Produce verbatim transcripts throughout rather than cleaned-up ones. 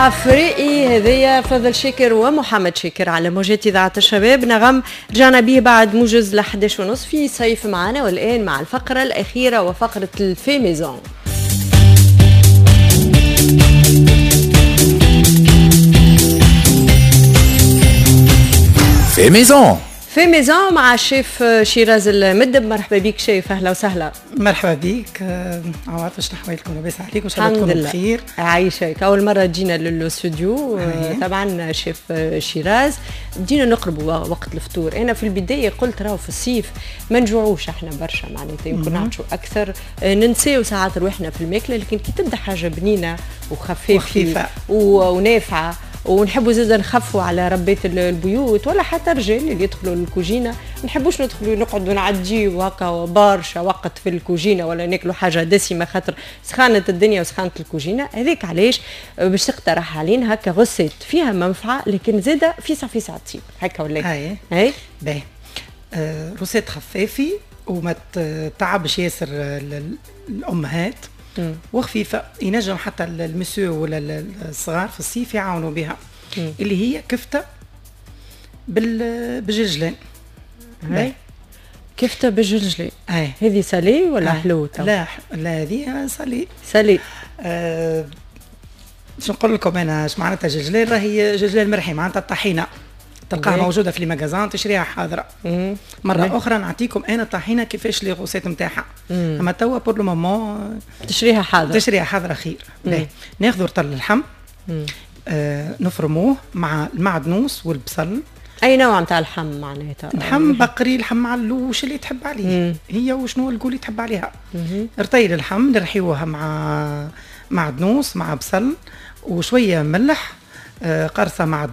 عفريقي هذيا فضل شاكر ومحمد شاكر على موجات إذاعة الشباب نغم. رجعنا به بعد موجز ل إحداش ونص في صيف معنا، والآن مع الفقرة الأخيرة وفقرة ال fait maison. fait maison fait maison مع الشيف شيراز المدب. مرحبا بك شيف، اهلا وسهلا. مرحبا بك عواطف، شنو احوالكم؟ لاباس عليكم؟ ان شاء الله تكونوا بخير. عايشك. اول مرة جينا للاستوديو طبعا شيف شيراز، بدينا نقربوا وقت الفطور. انا في البداية قلت راهو في الصيف ما نجوعوش احنا برشا، معناتها يمكن نعطشوا اكثر، ننساو ساعات رواحنا في الماكلة، لكن كي تبدا حاجة بنينه وخفيفة ونافعة ونحبوا زادا نخفوا على ربات البيوت ولا حتى الرجال اللي يدخلوا للكوجينه، ما نحبوش ندخلوا نقعدوا نعديو هكا برشا وقت في الكوجينه ولا ناكلوا حاجة دسمة خاطر سخانه الدنيا وسخانه الكوجينه. هذاك علاش باش تقترح علينا هكا recette فيها منفعه لكن زادا فيسع فيسع تطيب هكا ولا اي اي باهي. آه recette خفافي وما تعبش ياسر الامهات وخفيفة، ينجم حتى المسيو ولا الصغار في الصيف يعاونوا بها، مم. اللي هي كفته بال بالجلجلان. هاي كفته بالجلجلان، هذه salé ولا حلو؟ لا لا هذه salé salé. آه باش نقول لكم انا اش معناتها جلجلان، راهي جلجلان مرحي معناتها الطحينه، تلقاها موجودة في les magasins تشريها حاضره. مم. مرة مم. اخرى نعطيكم انا الطحينه كيفاش les recettes نتاعها، اما توا pour le moment تشريها حاضره، تشريها حاضره خير. ناخذ رطل اللحم، آه نفرموه مع المعدنوس والبصل. اي نوع نتاع اللحم معناتها؟ لحم بقري، لحم علوش، اللي تحب عليه. مم. هي وشنو القول اللي تحب عليها. رطيل اللحم نرحيوها مع معدنوس مع بصل وشوية ملح، قرصة مع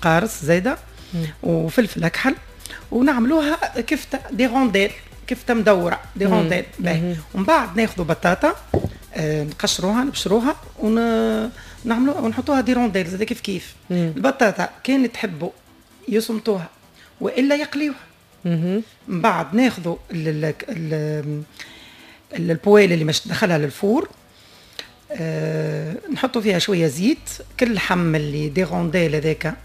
قارص زايدة وفلفل اكحل، ونعملوها كفته des rondelles، كفته مدورة des rondelles. باهي. ومن بعد ناخذوا بطاطا نقشروها نبشروها ونعملوها ونحطوها des rondelles زاده كيف كيف. مم. البطاطا كان تحبوا يصمتوها والا يقليوها. من بعد ناخذوا ال poêle اللي مش تدخلها لل four، أه نحطوا فيها شوية زيت، كل لحم اللي des rondelles هذاك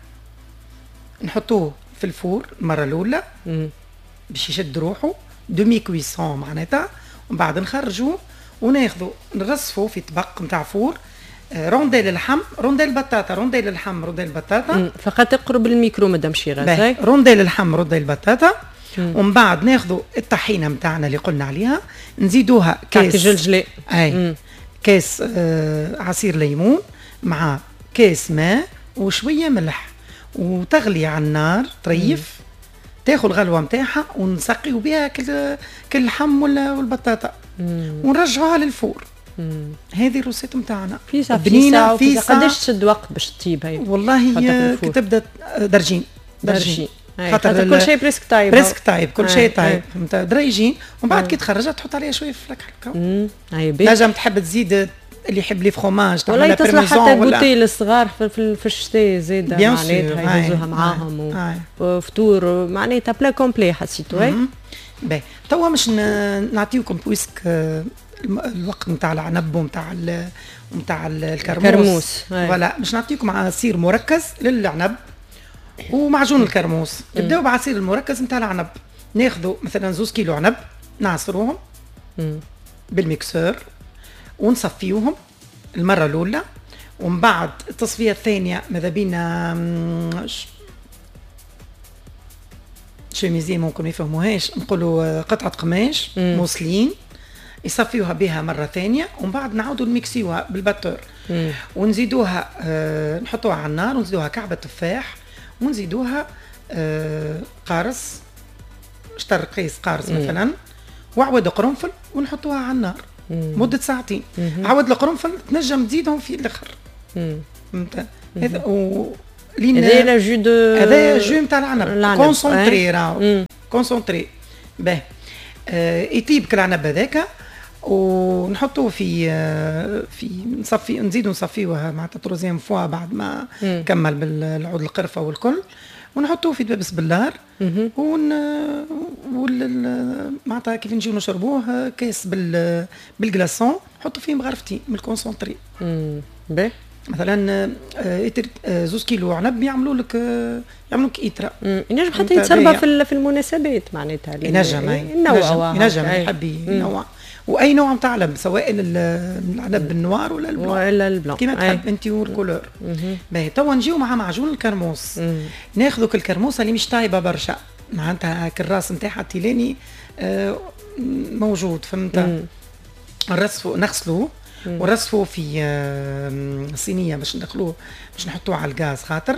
نحطوه في ال four المرة الاولى باش يشد روحه demi-cuisson معناتها، ومن بعد نخرجوه وناخذوا نرصفوه في طبق نتاع four، آه rondelle اللحم rondelle البطاطا rondelle اللحم rondelle البطاطا. فقط اقرب الميكرو مدام شيراز. rondelle اللحم rondelle البطاطا. ومن بعد ناخذوا الطحينه نتاعنا اللي قلنا عليها، نزيدوها كاس جلجلي، اي كاس آه عصير ليمون مع كاس ماء وشوية ملح، وتغلي على النار طريف، تاخذ الغلوه نتاعها ونسقيو بها كل كل اللحم والبطاطا ونرجعوها لل four. هذه ال recette نتاعنا فيسع بنينه فيسع. قداش تشد وقت باش تطيب هي؟ والله كي تبدا درجين درجين، خاطر كل شيء presque طايب، presque طايب، كل شيء طايب، فهمت؟ دريجين. ومن بعد كي تخرجها تحط عليها شوية فلك هكا. نجم تحب تزيد اللي يحب les fromages، ولا تصلح حتى goûter للصغار في, في, في الشتاء زاده، معناتها يهزوها معاهم وفطور معناتها plat complet حسيتو. باهي توا باش نعطيكم puisque الوقت نتاع العنب ونتاع نتاع الكرموس، voilà باش نعطيكم عصير مركز للعنب ومعجون الكرموس. نبداو بعصير المركز نتاع العنب. ناخذوا مثلا زوز كيلو عنب، نعصروهم بال mixeur ونصفيوهم المرة الاولى، ومن بعد التصفية الثانية ماذا بينا chemisier ممكن ما يفهموهاش، نقولوا قطعه قماش موصلين يصفيوها بها مرة ثانية، ومن بعد نعاودوا نميكسيوها بال batteur ونزيدوها آه نحطوها على النار ونزيدوها كعبه تفاح ونزيدوها آه قارص، شطر قيس قارص مثلا، وعود قرنفل، ونحطوها على النار مدة ساعتين. عود القرنفل تنجم تزيدهم في الاخر. فهمت؟ هذا و لين هذا jus de هذا jus نتاع العنب concentré، راهو concentré. باهي آه يطيب كل العنب هذاك ونحطوه في في نصفي، نزيدو نصفيوها معناتها troisième fois بعد ما مم. كمل بالعود القرفه والكل، ونحطوه في دبابس بلار ون وال معناتها كيف نجيو نشربوه كاس بال بال glaçons، نحطوا فيه مغرفتين من ال concentré. باهي مثلا آه، آه، زوز كيلو عنب يعملوا لك آه، يعملوا لك ايترا. ينجم حتى يتسربى في في المناسبات معناتها. ينجم ينجم ينجم يحب ينوع، واي نوع نتاع عنب، سواء العنب ال noir ولا ال blanc ولا ال blanc كيما تحب انت وال couleur. باهي، توا نجيو مع معجون الكرموس. ناخذوا الكرموسه اللي مش طايبه برشا، معناتها الراس نتاعها التيلاني آه موجود، فهمت؟ نرصفوا، نغسلوه ونرصفوه في صينية باش ندخلوه، باش نحطوه على الغاز، خاطر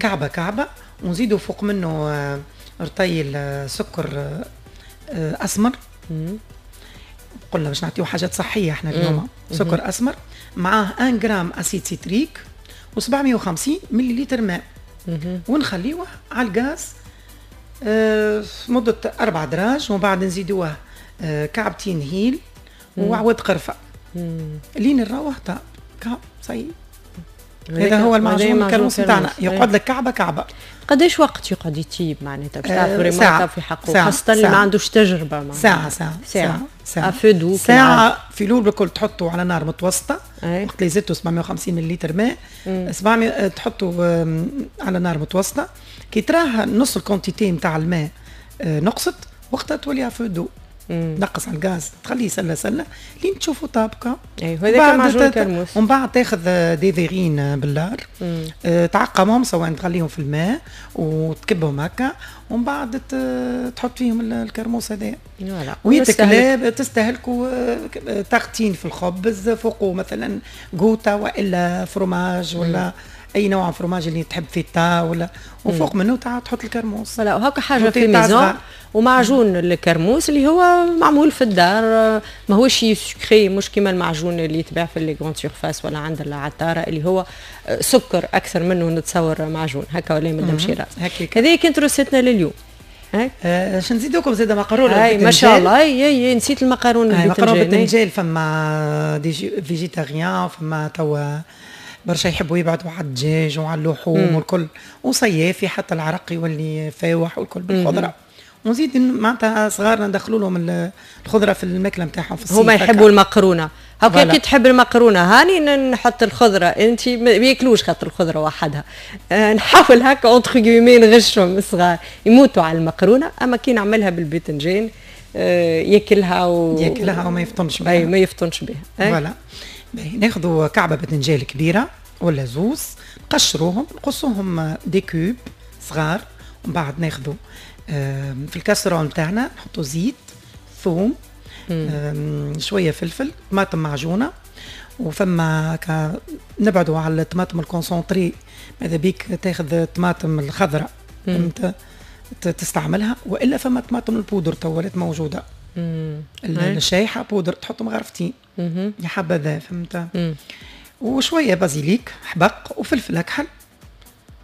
كعبه كعبه، ونزيدوا فوق منه آه، رطيل آه، سكر آه، اسمر. قلنا باش نعطيو حاجات صحية احنا اليوم. سكر اسمر معاه un gramme acide citrique وسبعمية وخمسين مليلتر ماء، ونخليوه على الغاز مدة أربع دراج، ومن بعد نزيدوه كعبتين هيل وعود قرفة لين نروح طاب كعب صحيح. هذا هو المعجون الكرموس نتاعنا، يقعد لك كعبه كعبه. قداش وقت يقعد يطيب معناتها باش تعرف ساعة في حقه، خاصة اللي ما عندوش تجربة؟ معناتها ساعة ساعة. ساعة. ساعة ساعة، ساعة في الأول بالكل تحطوا على نار متوسطة. وقت اللي زدتوا سبعمية وخمسين مليلتر ماء، سبعمية تحطوا على نار متوسطة، كي تراه نص ال quantité نتاع الماء آه، نقصت، وقتها تولي à feu doux، نقص على الغاز، تخليه سله سله لين تشوفوا طاب كا. اي، وهذاك معجون الكرموس. ومن بعد تاخذ des verrines بلار، آه تعقمهم، سواء تخليهم في الماء وتكبهم هكا، ومن بعد تحط فيهم الكرموس هذا ويتكلاب تستهلكوا آه، tartine في الخبز، فوقه مثلا قوطه والا فروماج ولا اي نوع فروماج اللي تحب فيتا ولا، وفوق منه تحط الكرموس. voilà، وهكا حاجة fait maison ومعجون الكرموس اللي هو معمول في الدار، ماهوش sucré، مش كيما المعجون اللي يتباع في les grandes surfaces ولا عند العطاره اللي هو سكر اكثر منه نتصور معجون هكا، ولا مدام شيراز؟ هذه كانت recette نا لليوم. آه باش نزيدوكم زاده مقرونة. اي ما شاء الله، اي اي نسيت المقارونه. المقرونه بالباذنجان، فما des végétariens، فما توا برشا يحبوا يبعدوا على الدجاج وعلى اللحوم والكل، وصيافي حتى العرق يولي فاوح والكل بالخضره، ونزيد معناتها صغارنا ندخلوا لهم الخضرة في الماكلة نتاعهم في الصيف. هما يحبوا المقرونه هكا، كي تحب المقرونه هاني نحط الخضره، انت ما ياكلوش خاطر الخضرة وحدها. أه نحاول هكا entre guillemets نغشهم، الصغار يموتوا على المقرونه، اما كي نعملها بالباذنجان أه ياكلها و... ياكلها وما يفطنش بها. اي، ما يفطنش بها. voilà، ناخذوا كعبه باذنجان كبيرة ولا زوز، نقشروهم، نقصوهم des cubes صغار، ومن بعد ناخذوا في الكاسرون نتاعنا نحطوا زيت، ثوم، شوية فلفل، طماطم معجونه، وفما نبعدوا على الطماطم ال concentrée، ماذا بيك تاخذ الطماطم الخضراء فهمت تستعملها، والا فما طماطم البودر تو ولات موجوده، الشايحه بودر، تحط مغرفتين يا حبذا فهمت، وشوية basilic حبق وفلفل اكحل،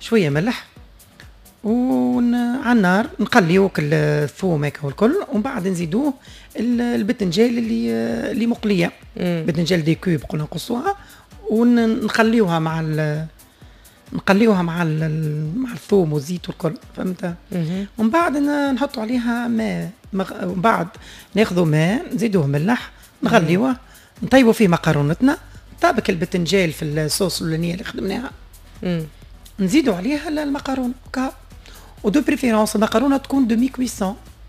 شوية ملح، وعلى النار نقليو الثوم هكا والكل، ومن بعد نزيدوه البتنجال اللي اللي مقليه، بتنجال des cubes قلنا نقصوها ونخليوها مع نقليوها مع مع الثوم والزيت والكل فهمت، ومن بعد نحطوا عليها ماء مغ... ومن بعد ناخذوا ماء نزيدوه ملح، نغليوه، نطيبوا فيه مقارونتنا. طابك البتنجال في الصوص الاولانية اللي خدمناها، نزيدوا عليها المقارونه، و de préférence المقارونه تكون demi-cuisson،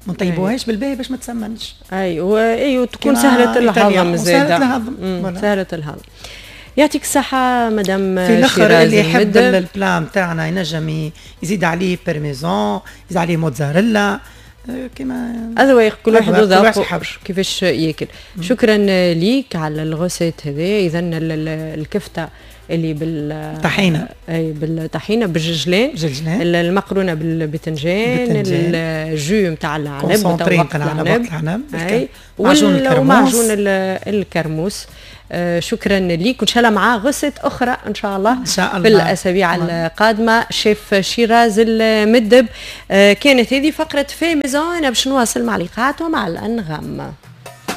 ما نطيبوهاش بالباهي باش ما تسمنش. اي اي، وتكون سهلة الهضم. زاده سهلة الهضم. سهلة الهضم. يعطيك الصحة مدام. في الاخر اللي يحب ال plat نتاعنا ينجم يزيد عليه بارميزون، يزيد عليه موتزاريلا آه، كما اذواق، كل واحد وذوقه كيفاش ياكل. شكرا ليك على ال recette هذه. اذا الكفتة اللي بال طحينه. اي، بالطحينه بالجلجلان. جلجلان. المقرونه بالباذنجان، ال jus نتاع العنب. concentré نتاع العنب. العنب ومعجون الكرموس. آه شكرا ليك، وان شاء الله مع recette اخرى ان شاء الله. ان شاء الله في الاسابيع القادمه. شيف شيراز المدب. آه كانت هذه فقره fait maison. انا باش نواصل مع لقاءات ومع الانغام.